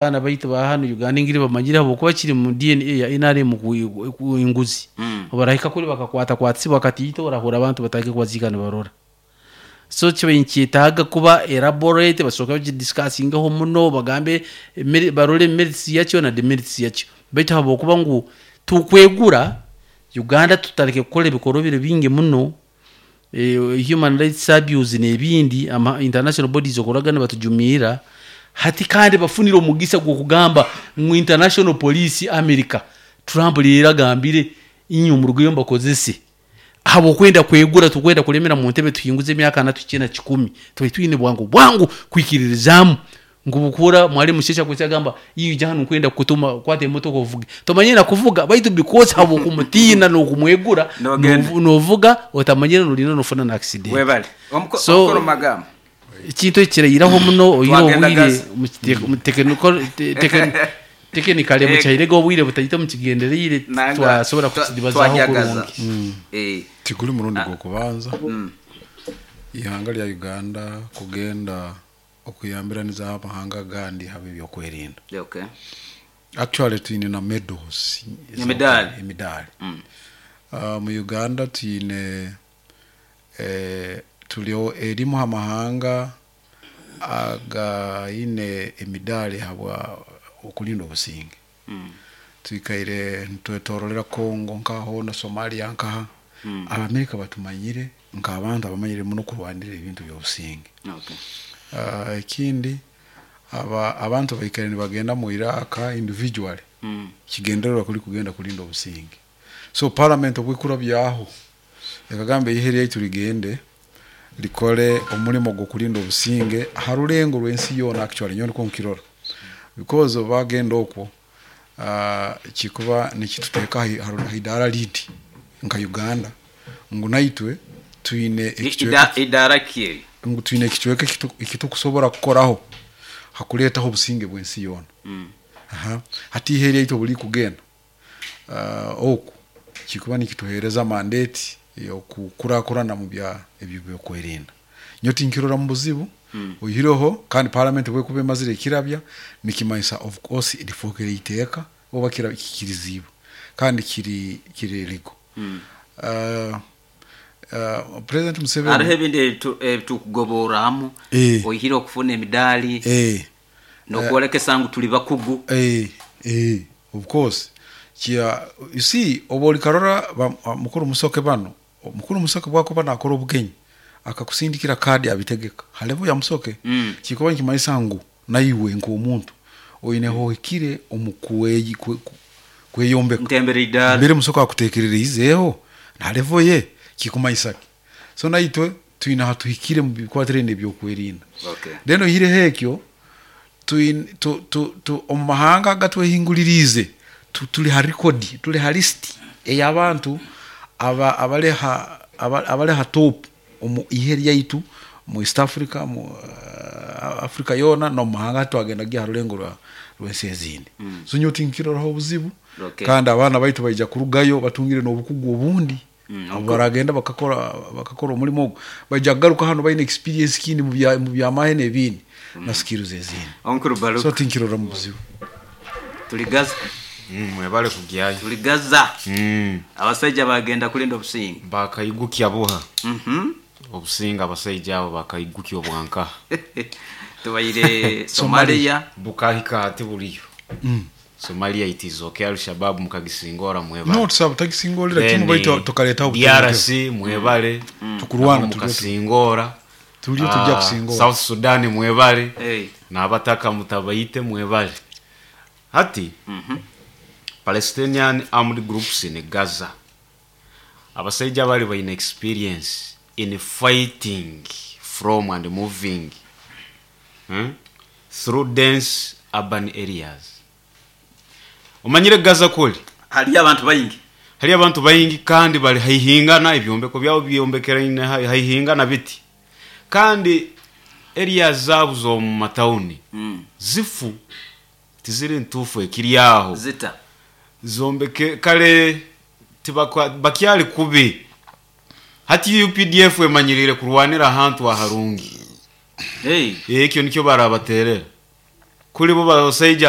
Abaana baitu ba hanu Uganda engeri bamanyire habwokuba kiri mu DNA ya NRM enguzi. Obu barahika kuli bakakwata kwatisibwa katiito orahurra abantu batandike kubaziika nibarora. So kibaire nikyetaaga kuba elaborate, basooke bakidiscussingeho muno, bagambe barole merits yakyo na demerits yakyo. Baitu habwokuba ngu tukwegura, Uganda tutandike kukora ebikorobero bingi muno, human rights abuse n'ebindi, ama international bodies okuraga nibatujumirra, hati kandi bafunire omugisa gw'okugamba ngu international police America, Trump leero agambire inywe murugeyo mbakozese. Habw'okwenda kwegura, tukwenda kulemera mu ntebe tuhinguze emyaka ana tuhikye na kikumi, tubaire twine bwangu bwangu kwikiririzaamu ngu bukuhurra Mwalimu Sheshi akwija agamba iwe ija hanu nkwenda kukutuma kwata emotoka ovuge. Tomanyire na kuvuga baitu because habw'okumutiina n'okumwegura Nogenda. novuga otamanyire norinda nofuna na accident. Webale. So Omukuru Magamba. Ekintu eki kirairaho muno oine Twagenda obwire Gaza. Technically mukihairege obwire butaito mukigendereire Nanga twasobora kukidibazaaho twajagaza. kurungi. Tiguli murundi gw'okubanza ihanga lya Uganda kugenda okuyambiraniza amahanga agandi ha by'okwerinda. Actually twine na medals. Emidaali. Emidaali. Mu Uganda twine turi erimu ha mahanga againe emidaali habwa okulinda obusinge. Twikaire nitwetorolera Congo nkaho na Somalia nkaha. Abamerika batumanyire nk'abantu abamanyire muno kurwanirra ebintu by'obusinge. Ekindi abantu baikaire nibagenda mu Iraq individually, kigendererwa kuli kugenda kulinda obusinge. So parliament obwekurabyaho ekagamba ihe lyaitu ligende likore omulimo gw'okulinda obusinge ha rulengo rw'ensi yoona, actually nyowe nikwo nkirora, because obu bagenda okwo, kikuba nikituteeka ha idaara lindi nka Uganda ngu naitwe twine ekicweka Idaara ki eri? Ngu twine ekicweka ekitukusobora kukoraho hakuleetaho obusinge bw'ensi yoona. Aha. Hati ihe lyaitu obu rikugenda oku, kikuba nikituheereza mandate ey'okukurakurana mu bya ebyo by'okwerinda. Nyowe tinkirora mu buzibu, oihireho kandi parliament obu ekuba emazire ekirabya, nikimanyisa of course lifookere iteeka oba kikiriziibwe kandi kiri legal. President Museveni Hariho ebindi ebitukugoborramu oihire okufuna emidaali n'okwolekesa ngu tuli bakugu. Eh, of course. Kia, you see, obu olikarora mukuru Musoke banu, mukuru Musoke bwakuba nakora obugenyi akakusindikira kaadi abitegeka ha level ya Musoke, kikuba nikimanyisa ngu naiwe nk'omuntu oineho ohikire omu kweyombeka. Ntembere idaara. Mbere Musoke akuteekereriizeeho na level ye, kikumanyisa ki? So naitwe twine hatuhikire mu bikwatiraine n'ebyokwerinda. Then oihireho ekyo, twine, omu mahanga agatwehinguliriize tuli ha record, tuli ha list ey'abantu abali ha top omu ihe lyaitu mu East Africa, mu Africa yoona n'omu mahanga twagendaga ha rulengo rw'ensi ezindi. So nyowe tinkiroraho obuzibu. Kandi abaana baitu baija kurugayo batungire n'obukugu obundi. Obu baragenda bakakora omulimo ogu, baija kugaruka hanu baine experience kindi mu by'amahe n'ebindi na skills ezindi. Omukuru Baruka. So tinkirora mu buzibu. Tuli Gaza. Mwebale kugyayo. Tuli Gaza. Abasaija bagenda kulinda obusinge. Bakaigukya buha. Obusinge abasaija abo bakaigukya obwankaha. Tubaire Somalia. Bukahika hati buriyo. Somalia it is okay, Al-Shabaab mukagisingora, mwebale. No, tusaba tagisingorera kimu Then, baitu tukaletaho obutebenkevu. DRC mwebale. Tukurwana Nabo mukasingora. Tuliyo tujja kusingora. South Sudan mwebale. Hey. N'abataka mutabaite, mwebale. Hati Palestinian armed groups in Gaza. Abasaija bali baine experience in fighting from and moving through dense urban areas. Omanyire Gaza kuli? Haliyo abantu baingi. Hali abantu baingi kandi bali haihingana, ebyombeko byabo byombekeraine haihingana biti. Kandi areas zaabo z'omu matawuni zifu, tiziri ntuufu ekiri aho. Zita. Zombeke kale tibakwa bakyali kubi. Hati UPDF emanyirire kurwanira ahantu aharungi. Hey. Ekyo nikyo barabaterera. Kuli bo basaija.